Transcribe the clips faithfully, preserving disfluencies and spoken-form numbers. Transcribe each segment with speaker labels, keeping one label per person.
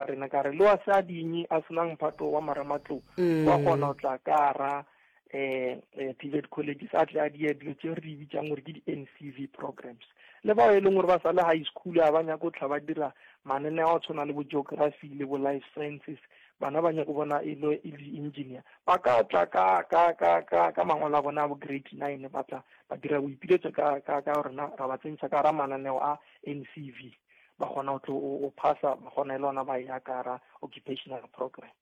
Speaker 1: rena ka re le wa se a dinye a senang mphato wa marematlou wa kgona go tla ka ra um T V E T colleges, a tle a die dilo tse re di bitsang gore ke di-N C V programs. Le bao e leng gore ba sa le high school, a ba nyako tla ba dira mananeo a tshwana le bo geography le bo life sciences, bana ba nyako bona e le e le engineer, ba ka tla ka ka ka ka ka mangwalo a bona a bo grade nine, ba tla ba dira boipiletso ka ka ka rena, ra ba tsentšha ka ra mananeo a N C V, ba kgona go tlo o phasa, ba kgona e le ona ba ya ka ra occupational programs.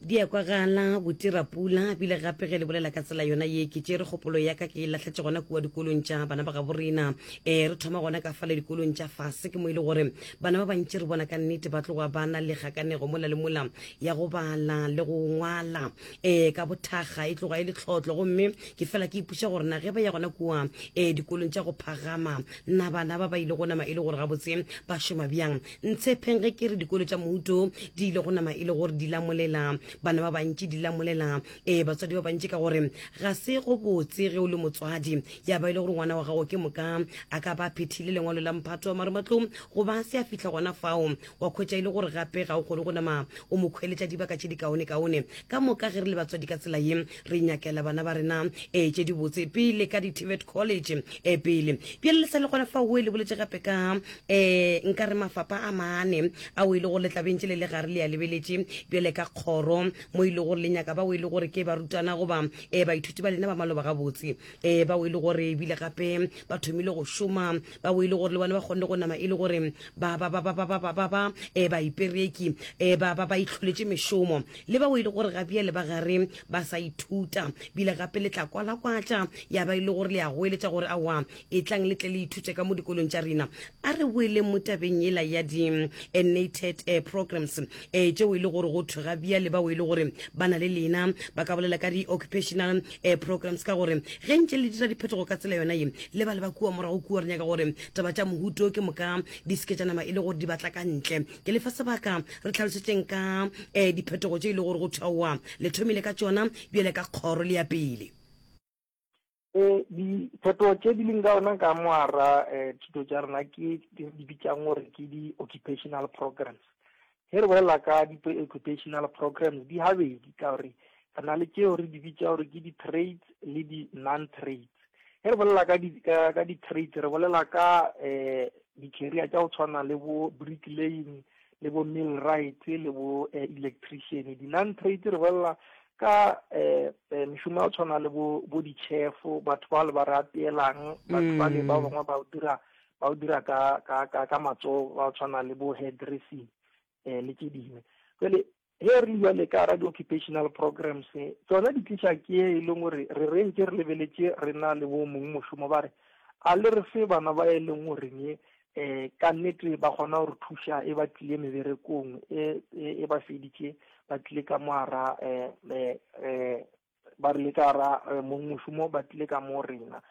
Speaker 2: Di a kwagala botirapula bile gape ge le bolela ka tsela yona ye, ke tšere kgopolo ya ka ke e lahletše gona kua dikolong tša bana ba gabo rena. um re thoma gona ka fale dikolong tša fase, ke mo e le gore bana ba bantši re bona ka nnete ba tloga ba na le kgakanego mola le mola ya go bala le go ngwala um ka bothakga, e tloga e le tlhotlo. Gomme ke fela ke ipuša gore na ge ba ya gona kua um dikolong tša go phagama, na bana ba ba ile go nama e le gore gabotse ba šoma bjang? Ntshepeng ge ke re dikolo tša mohuto di ile go nama e le gore di lamolela bana ba bantši, di lamolela um batswadi ba bantši, ka gore ga se go botse ge o le motswadi ya ba e le gore ngwana wa gago ke moka a ka ba phethile lengwalo la mphato wa marematlou goba se a fihla gona fao, wa khwetša e le gore gape ga o kgone go nama o mo khweletša dibaka tše di kaone-kaone. Ka moka ge re le batswadi ka tsela ye, re nyakela bana ba rena um tše di botse pele ka di-T V E T college um pele. Bjale le sa le gona fao, o e le boletse gape ka um nka re mafapa a mane ao e le gore le tlabentše le le gare le ya lebeletše bjale ka kgoro, mo e le gore le nyaka bao e le gore ke barutwana goba um baithuti ba lena ba maloba gabotse, um bao e le gore ebile gape ba thomile go šoma, bao e le gore le bona ba kgonne go nama e le gore ba ba ba ba ba ba ba ba ba um baipereki, um ba ba ba itlholetše mešomo, le bao e le gore gabjale ba gare ba sa ithuta, bile gape le tla kwalakwatša ya ba e le gore le ya goeletša gore aowa, e tlang le tle le ithute ka mo dikolong tša rena. A re boeleng mo tabeng ela ya di-N A T E D uh, programs um tšeo e le gore go thwe ga bjale bao e le gore ba na le lena ba ka bolela ka di-occupational uh, programs, ka gore ge ntše le dira diphetogo ka tsela yona ye, le ba le ba kua morago kua, re nyaka gore taba tša mohuto ke moka di seke tša nama e le gore di batla ka ntle. Ke lefa sebaka, re tlhalosetšeng ka um diphetogo tše e le gore go thwaoa le thomile ka tšona bjale ka kgoro le ya pele.
Speaker 1: um diphetogo tše di leng ka ona ka moara um thuto tša rena ke di bitsang gore ke di-occupational programs. Ge re bolela ka di-occupational programs, di habedi, ka gore re na le tšeo re di bitsa gore ke di-trades le di-non-trades. Ge re bolela ka ka di-trades, re bolela ka um di-career tša go tshwana le bo bricklaying le bo millwright le bo electrician. Di-non-trades, re bolela ka um mešomo ya go tshwana le bo bo di-chef, batho ba le ba re apeelang, batho ba le ba bangwe ba o dira ba o dira ka ka ka ka matsogo, ba tshwana le bo hairdressing um le tše dingwe. Jale ge re le jale ka ra di-occupational programs, tsona di tliša ke e leng gore re re ntse re lebeletše re na le bo mong mošomo, ba re a le re fe bana ba e leng goreng um ka nnete ba kgona go re thuša e ba tlile meberekong e e ba feditše, ba tlile ka moara um um ba re le ka ra mong mošomo, ba tlile ka mo rena.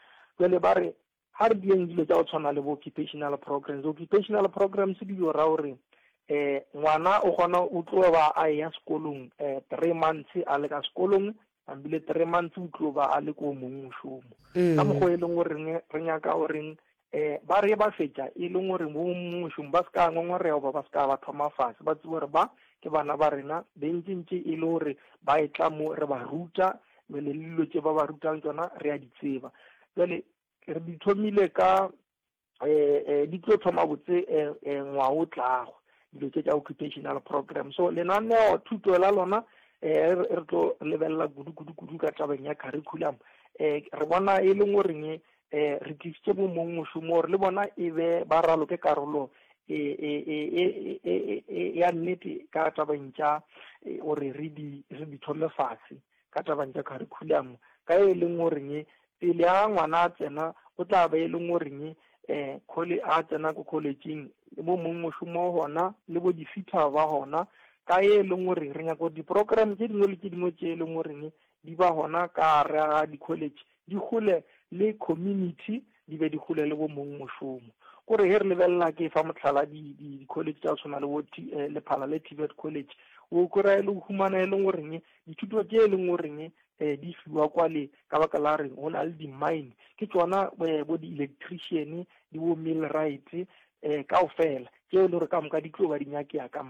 Speaker 1: Jale ba re ga re dieng dilo tša go tshwana le bo occupational programs. Occupational programs di dio ra gore um ngwana o kgona o tlo ba a ya sekolong um three months a le ka sekolong, ambile three months o tlo ba a le ko mong mošomo, ka mokgwa e leng goreng re nyaka goreng um ba re ba fetša e leng gore mo mošomo ba se ka ngongorego, ba ba se ka ba thoma fase, ba tsebe gore ba ke bana ba rena bentšentše e le gore ba e tla mo re ba ruta jale, le dilo tše ba ba rutang tsona re a di tseba. Jale re di thomile ka um di tlo thoma botse um ngwaga o tlago, dilo tše tša occupational program. So lenaneo thuto la lona um re tlo lebelela kudu kudu kudu ka tabeng ya curriculum. um re bona e leng goreng um re tlisitše bo mong mošomo gore le bona e be ba raloke karolo ya nnete ka tabeng tša gore re di re di thome fase ka tabeng tša curriculum, ka e leng goreng pele a ngwana a tsena o tla ba e leng goreng um college a tsena ko collegeng le bo mong mošomo gona le bo di-fitter ba gona, ka e leng gore re nyaka gore di-program tše dingwe le tše dingwe tše e leng goreng di ba gona ka gare ga di-college di gole le community, di be di gole le bo mong mošomo. Kore ge re lebelela, ke fa motlhala, di-college tša go tshwana le bo Lephalale T V E T College, o kry-a e le humana e leng goreng dithuto tše e leng goreng um di fiwa kwale ka baka la reng go na le di-mine, ke tsona bo di-electrician le bo millwright um kaofela tšeo e le gore ka moka di tlo ba di nyakea ka.